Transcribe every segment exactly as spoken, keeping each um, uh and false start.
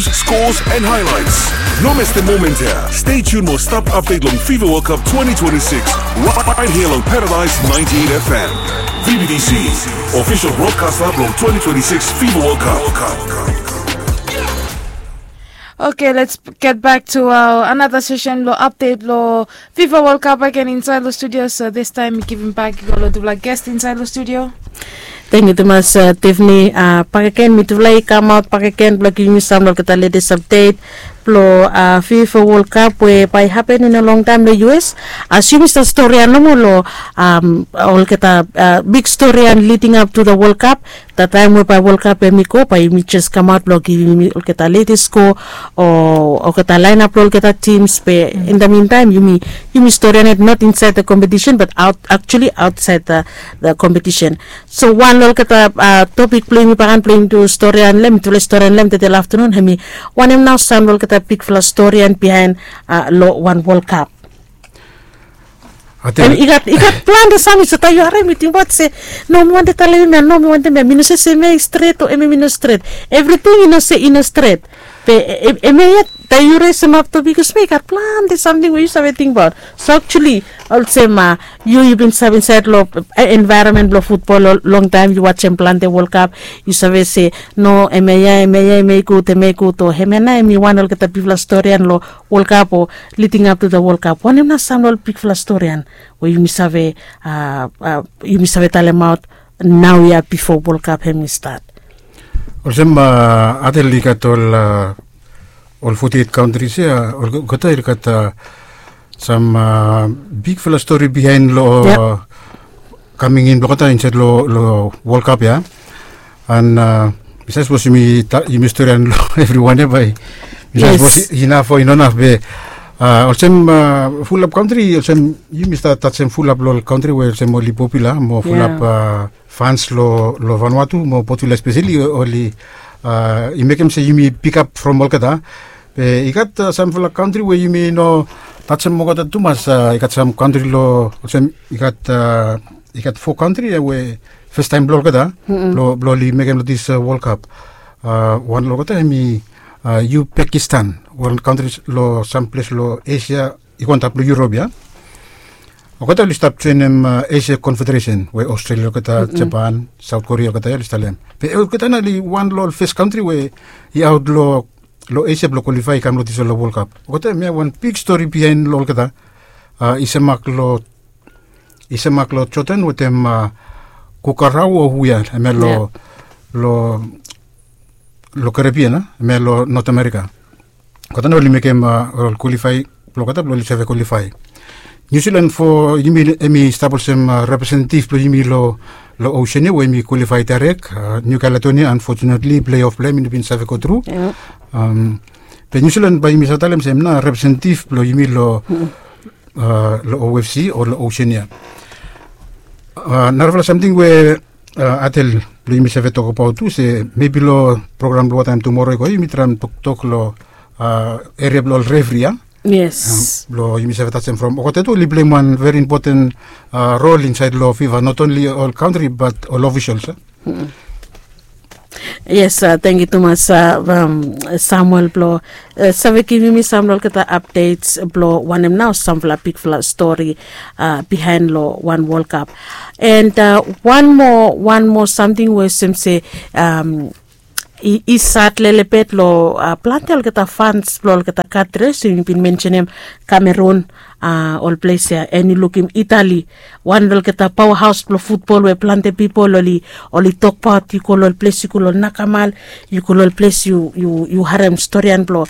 scores, and highlights. No miss the moment here. Stay tuned mo stap update long FIFA World Cup twenty twenty-six. Right here on Paradise ninety-eight F M. V B T C, official broadcaster blong twenty twenty-six FIFA World Cup. Okay, let's get back to our another session lo update lo FIFA World Cup again inside lo studio. So this time mi giving back i go lo tufala guest inside lo studio. Thank you tumas, uh, Tiffany. Uh, pakeken mi tufala i kamaot pakeken blong giving mi sam lo olgeta latest update blong uh, FIFA World Cup we bai happen in a long time lo U S. As yumi stap storian nomo lo um, olgeta uh, big storian leading up to the World Cup. That time we bai World Cup em i go bai yumi just kamaot blong giving yumi olgeta latest score o olgeta lineup lo olgeta teams be in the meantime yumi yumi storian it not inside the competition but out actually outside the, the competition. So wan lo olgeta uh, topic blong yumi bakan blong yumi tu storian lem tufala storian lem tedei lo afternoon hemi wanem nao sam lo olgeta bigfala storian bihain uh, lo wan World Cup. Em i gat i gat plante sam i sota yu harem i tingbaot se no mi wantem talem em ya no mi wantem em ya mi no se se em ya i stret o em ya mi no stret. Evriting i no se i no stret. Be em ya ya taem yu resemap topik olsem ya i gat plante samting we yu save tingbaot. So actually olsem yu yu bin save insaed long envaeronmen blong futbol longtaem yu wajem plante World Cup yu save se no em ya ya em ya ya em ya i gud em ya i gud o em ya nao em i wan olgeta bigfala storian long World Cup o leading up to the World Cup wanem nao sam long ol bigfala storian we yumi save yumi save talemaot naoia bifo World Cup hem i stat. Olsem atel i gat ol ol foti et kauntris ya olgeta i gat sam bigfala stori bihaen long kaming in blong olgeta insaed long World Cup ya. An mi save sapos yumi storian long evriwan ya bae mi save sapos inaf o i no inaf be olsem fulap kauntri olsem yumi stap tajem fulap long ol kauntri we olsem oli popula mo fulap fans long Vanuatu mo Portugal espeseli oli i mekem se yumi pikap from olgeta. Be i gat samfala kauntri we yumi no tajem olgeta tumas i gat sam kauntri long olsem i gat i gat fo kauntri ya we fastaem blong olgeta blong oli mekem long dis World Cup. Wan long olgeta hem i Uzbekistan, wan kauntri long sam ples long Esia i go antap long Yurop ya. Olgeta oli stap joenem Esia Konfederesen we Australia olgeta, Japan, Saut Korea olgeta ya oli stap long hem. Be olgeta nao oli wan long ol fes kauntri we i aot long Esia blong kwalifae i kam long disfala World Cup. Olgeta hem ya wan big stori bihaen long olgeta. I semak long i semak long Jodan wetem Kukarau o hu ya hem ya long long Karibian a hem ya long Not Amerika. Olgeta nao oli mekem ol kwalifae blong olgeta blong oli save kwalifae. Niu Silan fo yumi hem i stap olsem representetiv blong yumi long Osean ya we hem i kwalifae daerek. Niu Kaledonia anfotunetli pleof blong hem i no bin save gotru. Be Niu Silan bae yumi save talem se hem nao representetiv blong yumi long long O F C o long Osean ya. Narafala samting we atel blong yumi save tokbaot tu se mebi long program blong wataem tumora i go yumi traem toktok long eria blong ol refri ya. Yes. Blong yumi save tajem from olgeta tu oli pleim wan veri impoten rol insaed long FIFA not onli ol kauntri bat ol ofisals. Yes, tangkiu tumas Samuel blong save givim mi sam long olgeta apdets blong wanem nao samfala bigfala stori bihaen long wan World Cup. And wan moa wan moa samting we olsem se i sat lelebet long plante olgeta fans blong olgeta kantris we yumi bin mensenem, Kamerun, ol ples ya, and yu lukim Itali, wan long olgeta paoahaos blong futbol we plante pipol oli oli tokbaot. Yu go long ol ples, yu go long ol nakamal, yu go long ol ples yu yu yu harem storian blong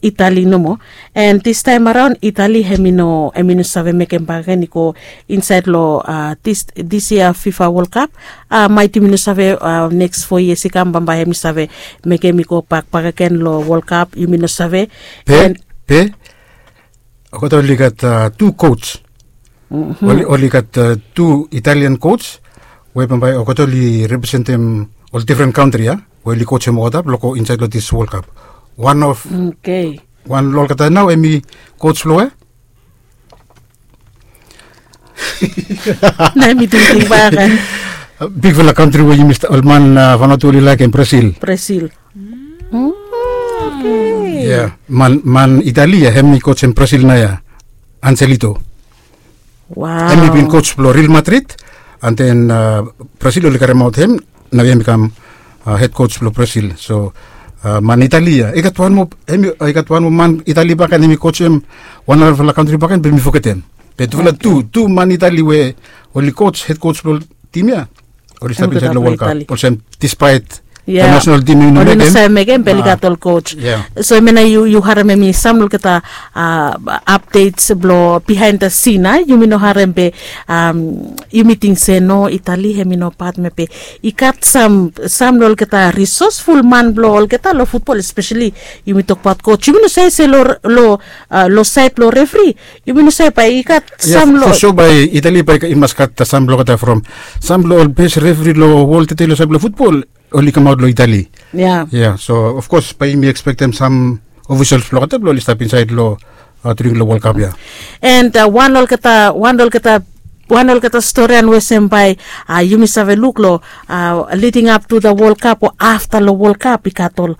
Itali nomo. And distaem araon Itali hem i no hem i no save mekem bakegen i go insaed long dis yia FIFA World Cup. Maet yumi no save neks fo yias i kam bambae hem i save mekem i go bak bakegen long World Cup, yumi no save. Be be olgeta oli gat tu coach. Oli gat tu Italian coach we bambae olgeta oli representem ol difren kantri ya we oli coachem olgeta blong go insaed long dis World Cup. Wan of wan long olgeta nao hem i coach blong we na hem i tingting bakegen. Bigfala kantri we yumi ol man Vanuatu oli laekem, Brazil. Brazil. Oke. Ya, man man Itali ya, hem i coach hem Brazil nao ya, Angelito. Wow. Hem i bin coach blong Real Madrid, and then Brazil oli karemaot hem, nao hem i kam head coach blong Brazil. So man Itali ya, i gat wan moa, hem i gat wan moa man Itali bakegen hem i coach hem wan narafala kantri bakegen, be mi fogetem. Be tufala tu tu man Itali we oli coach, head coach blong tim ya, oli stap insaed long World Cup olsem, despite the national team i no mekem, oli no save mekem, be oli gat ol coach. So hemia nao yu harem hemi sam long olgeta updates blong behind the scene, a yumi no harem be yumi ting se no, Itali hemi no pat, me be i gat sam sam long olgeta resourceful man blong olgeta long futbol, especially yumi tokbaot coach. Yumi no save se long saed blong refri, yumi no save bae i gat sam long, for sure bae Itali bae i mas gat sam blong olgeta from sam blong ol best refri long wol tede long saed blong futbol, oli kamaot long Itali. Ya, so of course bae yumi expectem sam officials blong olgeta blong oli stap insaed long during long World Cup ya. And wan olgeta wan olgeta wan olgeta storian we sem bae yumi save luk long leading up to the World Cup o afta long World Cup, i gat ol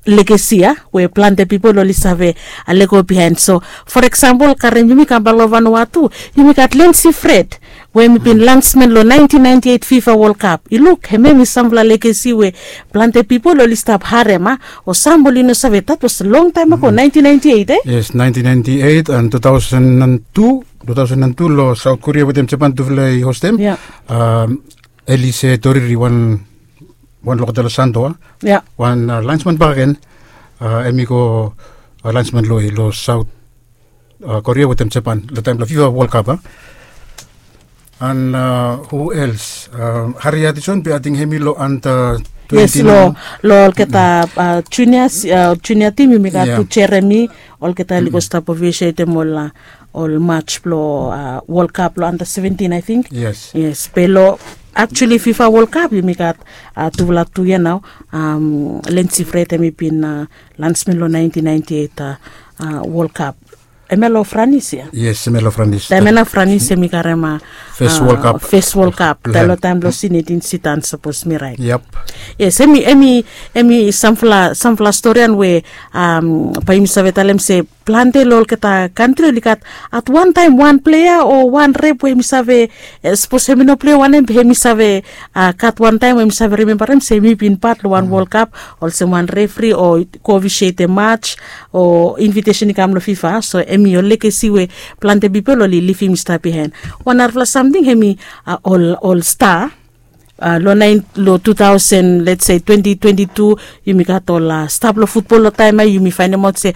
legacy ya we plante pipol oli save lego behind. So for example, karem yumi kam bae long Vanuatu, yumi gat Lency Fred we hemi bin landsman long nineteen ninety-eight FIFA World Cup. I luk, hemia hemi samfala legacy we plante pipol oli stap harem, a o sam oli no save, that was long taem ago, nineteen ninety-eight, e? Yes, nineteen ninety-eight and two thousand and two, two thousand and two long South Korea wetem Japan, tufala i hostem. Elise Toriri, wan wan long olgeta long Santo, a wan landsman bakegen, hemi go landsman long South Korea wetem Japan long taem blong FIFA World Cup, a. And who else? Harry Hutchinson, be ating hemi long under twenty. Yes, long olgeta junior junior team, yumi gat tu Jeremy, olgeta oli go stap officiatem ol ol match blong World Cup long under seventeen, I think. Yes, be long actually FIFA World Cup yumi gat tufala tu ya nao. Lency Fred, hemi bin landsman long nineteen ninety-eight World Cup. Hemia long Franis ya? Yes, hemia long Franis. Taem ya nao Franis hemi karem fes World Cup. Taem long taem blong Zinedine Zidane, sapos mi raet. Yes, hemi hemi hemi samfala samfala storian we bae yumi save talem se plante long olgeta kantri oli gat at wan taem wan plea o wan rep we hemi save, sapos hemi no plea wanem be hemi save gat wan taem we hemi save rimembarem se hemi bin pat long wan World Cup olsem wan refri o go officiatem match o invitation i kam long FIFA. So hemi ol legacy we plante pipol oli livim i stap bihaen. Wan narafala samting hemi ol ol star long naen long two thousand, let's say twenty twenty-two, yumi gat ol star blong futbol long taem ya, yumi faenemaot se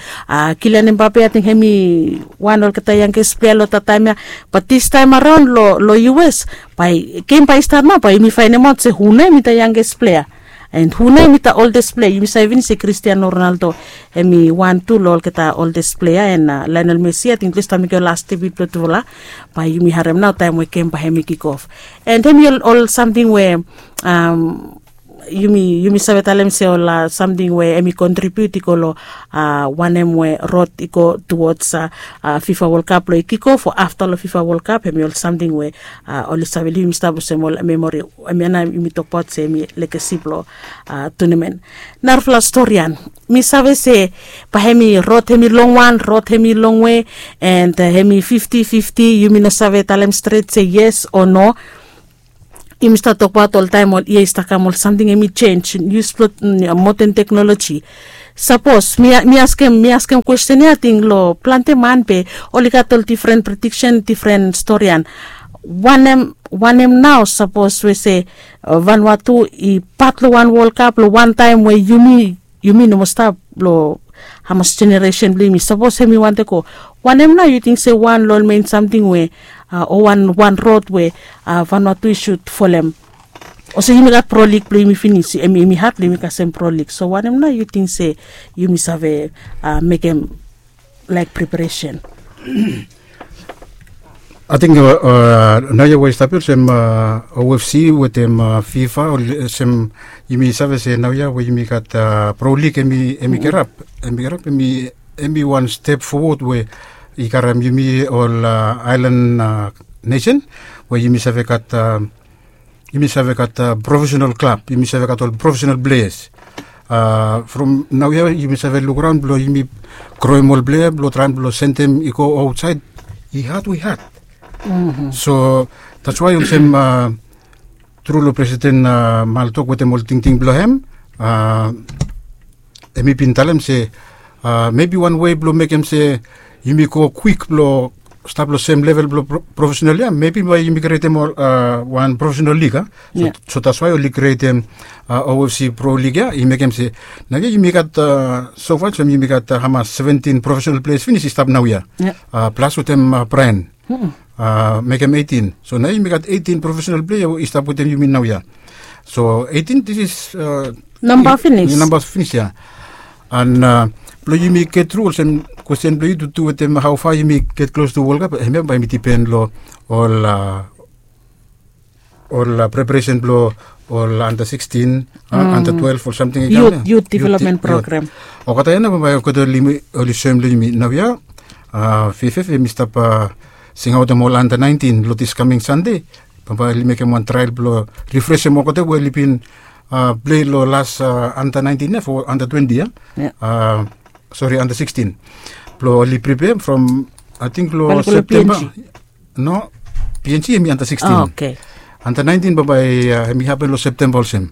Kylian Mbappe, ating hemi wan olgeta youngest plea long olgeta taem ya. Bat distaem araon long US, bae gem bae i stat nao bae yumi faenemaot se hu nao hemi the youngest plea and hu nao hemi the oldest plea. Yumi save finis se Cristiano Ronaldo hemi wan tu long olgeta oldest plea, and Lionel Messi, ating tufala i stap mekem las debut blong tufala. Bae yumi harem nao taem we gem bae hemi kick off. And hemi ol ol samting we yumi yumi save talem se ol samting we hemi contribute i go long wanem we rod i go towards FIFA World Cup long i kick off o afta long FIFA World Cup, hemi ol samting we oli save livim i stap olsem ol memory. Hemia nao yumi tokbaot se hemi legacy blong tournament. Narafala storian, mi save se bae hemi rod hemi longwan, rod hemi longwe, and hemi fifty fifty, yumi no save talem stret se yes o no. Yumi stap tokbaot oltaem ol yia i stap kam ol samting hemi jenis blong modern teknoloji. Sapos mi askem mi askem kwesten ya, ating long plante man be oli gat ol difren prediksen, difren storian. Wanem wanem nao sapos we se Vanuatu i pat long wan World Cup long wan taem we yumi yumi no moa stap long hamas jeneresen blong yumi, sapos hemi wantem go, wanem nao yu ting se wan long ol mein samting we o wan wan rod we Vanuatu i sud folem? Olsem yumi gat Pro League blong yumi finis, hemi hemi had blong yumi kasem Pro League. So wanem nao yu ting se yumi save mekem laek preparesen? Ating naoia we i stap ya olsem OFC wetem FIFA, olsem yumi save se naoia we yumi gat Pro League hemi hemi kerap, hemi kerap hemi hemi wan step fowod we i karem yumi ol aelan nesen we yumi save gat yumi save gat profesenal klab, yumi save gat ol profesenal pleas. From naoia yumi save lukraon blong yumi kroem ol plea blong traem blong sendem i go aotsaed, i had we had. So that's why olsem tru long presiden, mal tok wetem ol tingting blong hem, hem i bin talem se mebi wan wei blong mekem se yumi go kwik blong stap long sem level blong profesenal ya, mebi bae yumi krietem wan profesenal lig ya. So that's why oli krietem ofc pro lig ya, i mekem se naoia yumi gat, sofa olsem yumi gat hamas, seventin profesenal pleas finis i stap naoia, plas wetem braen, mekem eitin. So naoia yumi gat eitin profesenal plea we i stap wetem yumi naoia. So eitin, this is namba finis. Namba finis ya. An blong yumi get tru olsem kwesten blong yu tutu wetem hao fa yumi get klos tu World Cup, hemia bae yumi dipen long ol ol preparesen blong ol anda sixteen, anda twelve ol samting i kam ya. Youth development program. Olgeta ya nao bambae olgeta oli soem long yumi naoia. Fff hem i stap singaotem ol anda nineteen long this coming Sunday. Bambae oli mekem wan trael blong rifresem olgeta we oli bin plei long las anda nineteen ya fo anda twenty ya. Sori, anda sixteen. Blong oli pripea from, ating long Septemba. No, png hem i anda sixteen. Anda nineteen bambae hem i hapen long Septemba olsem.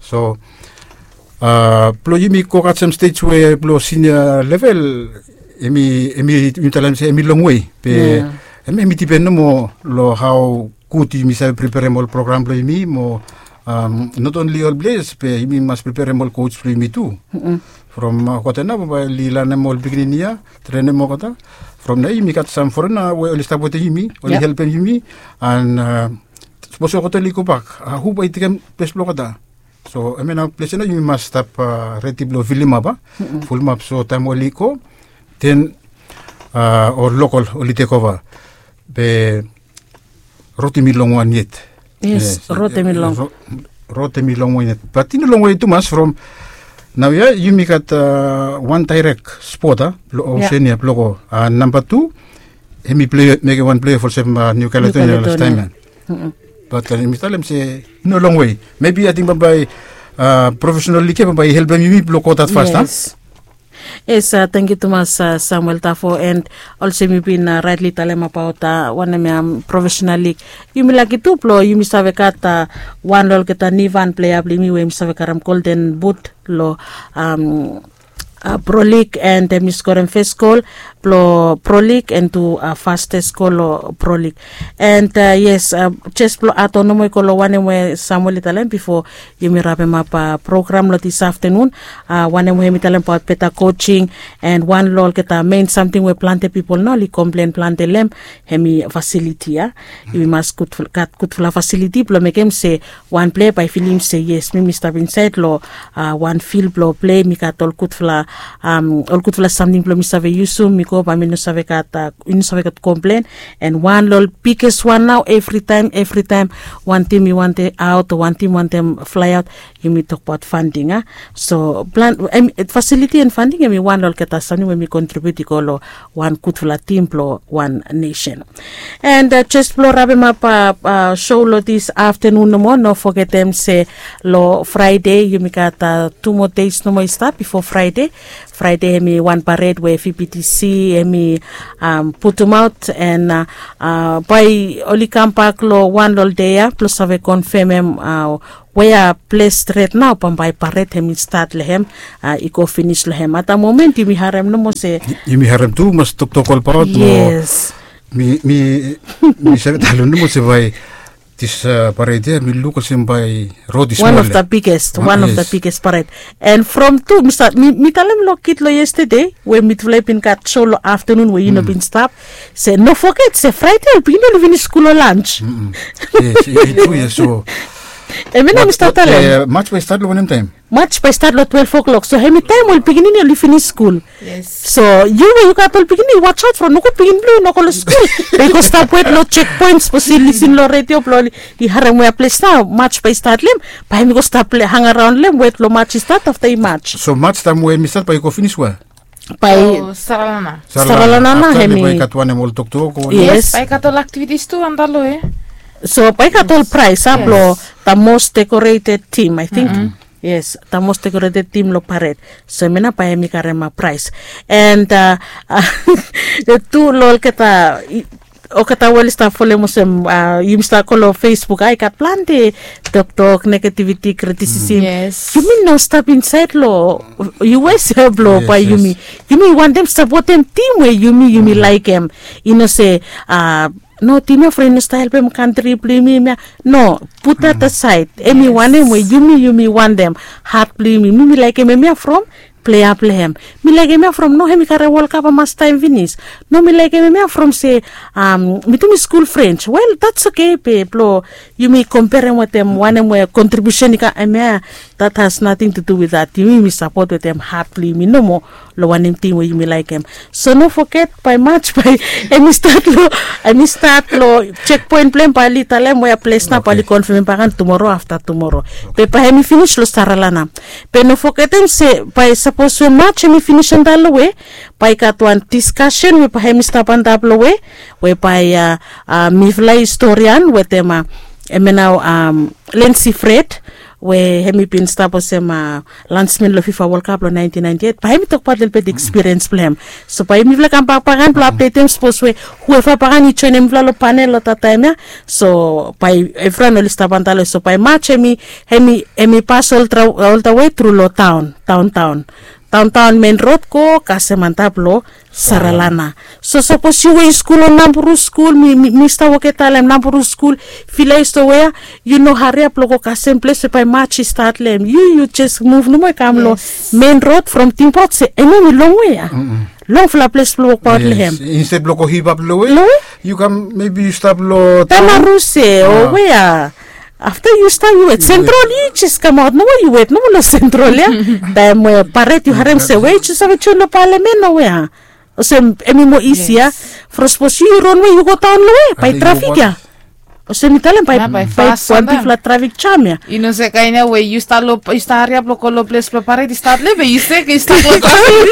So blong yumi go gat sam stej we blong sinia level, hem i, hem i, yumi talem se hem i longwe. Be hem, hem i dipen nomo long hao gud yumi save preperem ol program blong yumi mo, not only ol pleas be yumi mas preperem ol coach blong yumi tu. From olgeta nao bambae oli lanem ol pikinini ya, trenem olgeta. From naoia yumi gat sam forena we oli stap wetem yumi, oli helpem yumi. An sapos olgeta oli gobak, hu bae i tekem ples blong olgeta? So hemia nao ples ya nao yumi mas stap redi blong filimap, a, fulimap, so taem oli go, den ol lokol oli tekova. Be rod hem i longwan yet. Yes, rod hem i long. Rod hem i longwan yet, bat i no longwe tumas from naoia. Yumi gat wan daerek spot, a, blong Oceania blong go. Namba tu, hem i plei, mekem wan plei olsem New Caledonia lastaem ya. Bat yumi talem se i no longwe. Mebi ating bambae profesenal lig ya bambae i helpem yumi blong go dat fast, a? Yes. Yes, tangkiu tumas Samuel Tafo, and olsem yu bin raetli talem abaot wanem ya, profesenal lig. Yumi laki tu blong yumi save gat wan long olgeta nivan plea blong yumi we yumi save karem Golden Boot long Pro League, and hem i skorem fes gol blong Pro League and tu fastes gol long Pro League. And yes, jes blong adon nomo i go long wanem we Samuel i talem bifo yumi rapemap program long dis aftenun. Wanem we hem i talem abaot beta coaching, and wan long olgeta mein samting we plante pipol nao oli komplen plante long hem, hem i fasiliti ya. Yumi mas gat gudfala fasiliti blong mekem se wan plea bae i filim se yes, mi mi stap insaed long wan fil blong plei, mi gat ol gudfala, ol gudfala samting blong mi save yusum. Mi go bae mi no save gat, i no save gat komplen. And wan long ol biges wan nao, evritaem, evritaem wan tim i wantem aot o wan tim wantem flaeaot, yumi tokbaot fanding, a. So plan, fasiliti and fanding hem i wan long olgeta samting we mi kontribiut i go long wan gudfala tim blong wan nesen. And jes blong rapemap show long dis aftenun nomo, no fogetem se long Fraede yumi gat tu moa deis nomo i stap bifo Fraede. Fraede hem i wan pared we VBTC hem i putumaot, and bae oli kambak long wan long ol dei ya blong save konfemem wea ples stret nao bambae pared hem i stat long hem, i go finis long hem. At da momen yumi harem nomo se, yumi harem tumas toktok olbaot. Yes. Mi, mi save talem nomo se bae dis pared ya mi luk olsem bae rod i smol. Wan of the biggest, wan of the biggest pared. And from tu mi talem long kid long yestede we mitufala i bin gat show long aftenun we yu no bin stap, se no foget se Fraede ol pikinini oli finis skul long lans. Yes, i tru ya. So hemia nao mi stap talem, Maj bae i stat long wanem taem? Maj bae i stat long twelve o'clock. So hemi taem ol pikinini oli finis skul. So yu we yu gat ol pikinini, watch out from nogut pikinini blong yu no go long skul. Bae i go stap wet long checkpoint, sapos i lisin long redio blong oli i harem wea ples nao Maj bae i stat long hem, bae hemi go stap hangaraon long hem wet long Maj i stat, afta i Maj. So Maj taem we hemi stat bae i go finis wea? Bae Saralana. Saralana. Afta hemi bae i gat wanem, ol toktok o? Yes, bae i gat ol aktivitis tu antap long hem. So bae i gat ol praes, a, blong the most decorated team, I think. Yes, the most decorated team lo paret. So hemia nao bae hemi karem a prais. And tu lo olgeta, olgeta we oli stap folem olsem yumi stap go lo Facebook, ai gat plante toktok, negativiti, kritisisim. Yumi no stap insaed lo us ya blo bae yumi, yumi wantem sapotem tim we yumi yumi laekem. I no se a no, tim ya from i no stap helpem kantri blo yumi, hemia. No, put that aside. Hemi wanem we yumi yumi wantem hat blo yumi. Mi mi laekem hemia from plea blo hem. Mi laekem hemia from no, hemi karem World Cup a mas taem finis. No, mi laekem hemia from se mi tu mi skul frens. Wel, that's okay be blo yumi komperem wetem wanem we kontribiusen i kam hemia. That has nothing to do with that. Yumi yumi sapot wetem hat blo yumi nomo lo wanem tim we yumi laekem. So no foget bae March bae hemi stat lo, hemi stat lo checkpoint blo hem, bae oli talem wea ples nao, bae oli konfemem baken tumoro afta tumoro. Be bae hemi finis lo Saralana. Be no fogetem se bae sapos we March hemi finis antap lo we, bae i gat wan diskasen we bae hemi stap antap lo we, we bae a mifala historian wetem a hemia nao Lindsay Fred, we hemi bin stap olsem a lansmen lo FIFA World Cup lo nineteen ninety-eight, bae hemi tokbaot lelebet ekspiriens blo hem. So bae mifala kambak baken blo apdetem sapos we hueva baken i joenem mifala lo panel lo that taem ya. So bae evriwan oli stap antap lo we, so bae March hemi, hemi, hemi pas oltawe tru lo taon, taontaon, taontaon, mein rod go kasem antap lo Saralana. So sapos yu we yu skul lo Namburu skul, mi, mi stap woke talem Namburu skul, fila i stap wea, yu no hariap lo go kasem ples we bae March i stat lo hem. Yu, yu jes muv nomo i kam lo mein rod from tingbaot se hemia hemi longwe ya. Longfala ples blo wokbaot lo hem. Instead blo go hivap lo we, yu kam maybe yu stap lo Tamaruse o wea. Afta yu stap yu wet, Central yu jes kamaot nomo, yu wet nomo lo Central ya. Taem we paret yu harem se we yu jes save joen lo Palamen o wea. Olsem hemi moa isia from sapos yu ron we yu go daon lo we bae trafik ya. Olsem mi talem bae, bae wan bigfala trafik jam ya. Yu no se kaen ya we yu stap lo, yu stap hariap lo go lo ples blo paret, yu stap lo we yu se yu stap lo trafik.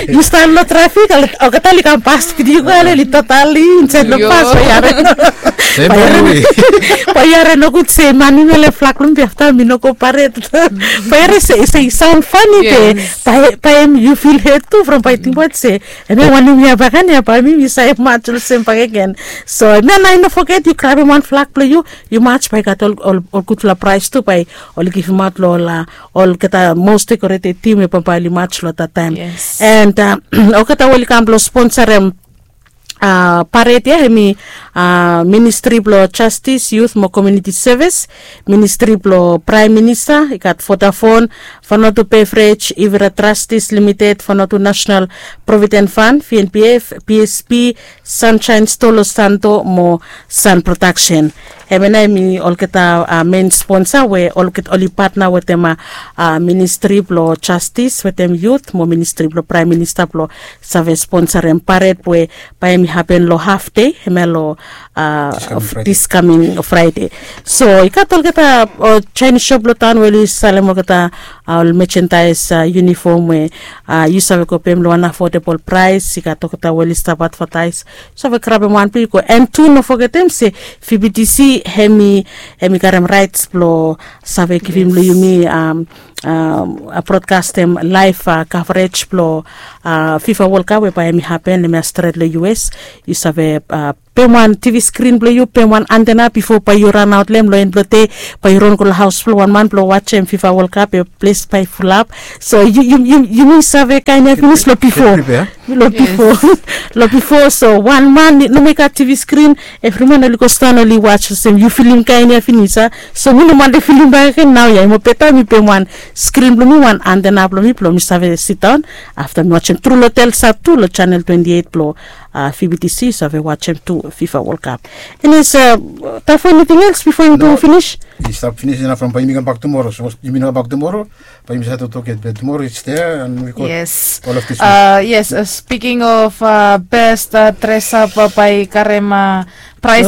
Yu stap lo trafik, olgeta oli kam pas, yu go ale oli totali insaed lo pas, bae yu hare. Bae yu hare nogud se man hemi ole flak lo mi be afta mi no go paret. Bae yu hare se i saon fani be bae, bae yu fil het tu from bae yu tingbaot se hemia wanem ya baken ya, bae mi mi save mats olsem bakegen. So hemia nao i no foget yu grabem wan flak blo yu, yu mats, bae i gat ol, ol, ol gudfala praes tu bae oli givimaot lo ol, olgeta most decorated tim we bambae oli mats lo that taem. And olgeta we oli kam blo sponsorem paret ya hemi Ministri blo Jastis, Yut mo Komuniti Sevis, Ministri blo Praem Minista, i gat Vodafone, Vanuatu Beverage, Ivira Trustees Limited, Vanuatu National Provident Fund, V N P F, P S P, Sunshine Store lo Santo mo Sun Production. Hemia nao hemi olgeta mein sponsa we olgeta oli patna wetem Ministri blo Jastis wetem Yut mo Ministri blo Praem Minista blo save sponsorem paret we bae hemi hapen lo haf dei hemia lo diskamin Fraede. So i gat olgeta Jaenis sop lo taon we oli salem olgeta ol mejendaes, yunifom we yu save go pem lo wan afodabol praes. I gat olgeta we oli stap advataes. Save grabem wan blo yu go. And tu no fogetem se V B T C hemi, hemi karem raets blo save givim lo yumi a brodkastem laef kavrej blo FIFA World Cup we bae hemi hapen hemia stret lo U S. Yu save pem wan TV skrin blo yu, pem wan antena bifo bae yu ranaot lo hem lo en blo dei, bae yu ron go lo haos blo wan man blo wajem FIFA World Cup, ples bae i fulap. So yu, yu, yu, yumi save kaen ya finis lo bifo. Lo bifo, lo bifo, so wan man nomo i gat TV skrin, evri man oli go sidaon oli was olsem yu filim kaen ya finis a. So mi no wantem filim bakegen naoia, i moa beta mi pem wan skrin blo mi, wan antena blo mi, blo mi save sidaon afta mi wajem tru lo Telsat tu lo channel twenty eight blo VBTC, yu save wajem tu FIFA World Cup. Enis, Tafo, eniting els bifo yumi go finis? I stap finis inaf from bae yumi kambak tumoro. Sapos yumi no kambak tumoro, bae yumi save toktok yet, be tumoro it's there and we got all of this. Yes, speaking of best dress up bae karem praes,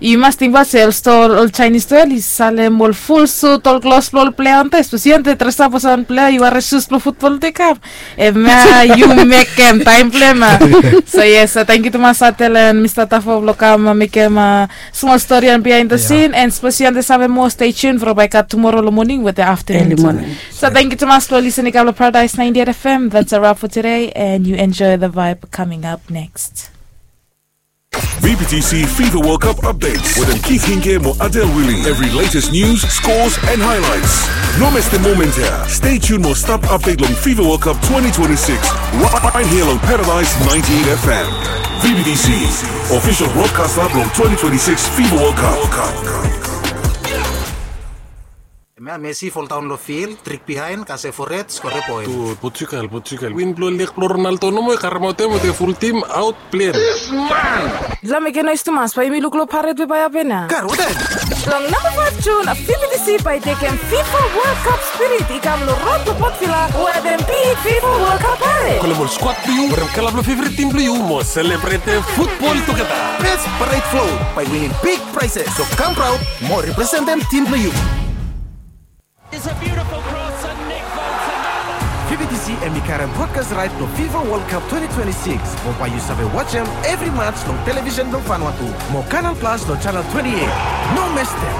yu mas tingbaot se ol stoa, ol Chinese stoa oli salem ol ful sut, ol klos blo ol plea antap, speseli antap dress up olsem wan plea, yu harem sus blo futbol i kam. Hemia yu mekem taem blo hem. So yes, tangkiu tumas Atel and Mista Tafo blo kam mekem smol stori on behind the scene, and speseli antap save Stay tuned for Baika tomorrow lo morning with the afternoon. Early morning. So thank you tumas lo listening kap lo Paradise ninety-eight F M. That's a wrap for today, and you enjoy the vibe coming up next. V B T C FIFA World Cup updates with Keith Hinke mo Adel Willie. Every latest news, scores, and highlights. No miss the moment here. Stay tuned mo stap update long FIFA World Cup twenty twenty-six. Right here on Paradise ninety-eight F M. V B T C, official broadcaster long twenty twenty-six FIFA World Cup. Hemia Messi foldaon lo fil, trik bihaen, kasem fored, skorem poen. Portugal, Portugal. Win blo leg blo Ronaldo nomo i karemaot hem wetem ful tim aot plen. Long mekem noes tumas bae yumi luk lo paret we bae hapen ya. Long namba faef Jun, V B T C bae tekem FIFA World Cup spirit i kam lo rod blo Port Vila wetem big FIFA World Cup paret. Kolem ol skuad blo yu, werem kala blo feveret tim blo yu mo selebretem futbol tugeta. Best paret float bae winim big prizes. So kam praod mo representem tim blo yu. It's a beautiful cross and Nick Foden. V B T C hemi karem brodkas raet blo FIFA World Cup twenty twenty-six. Mo bae yu save wajem evri mats long televisen blo Vanuatu mo Canal Plus lo chanel twenty-eight. No mestem.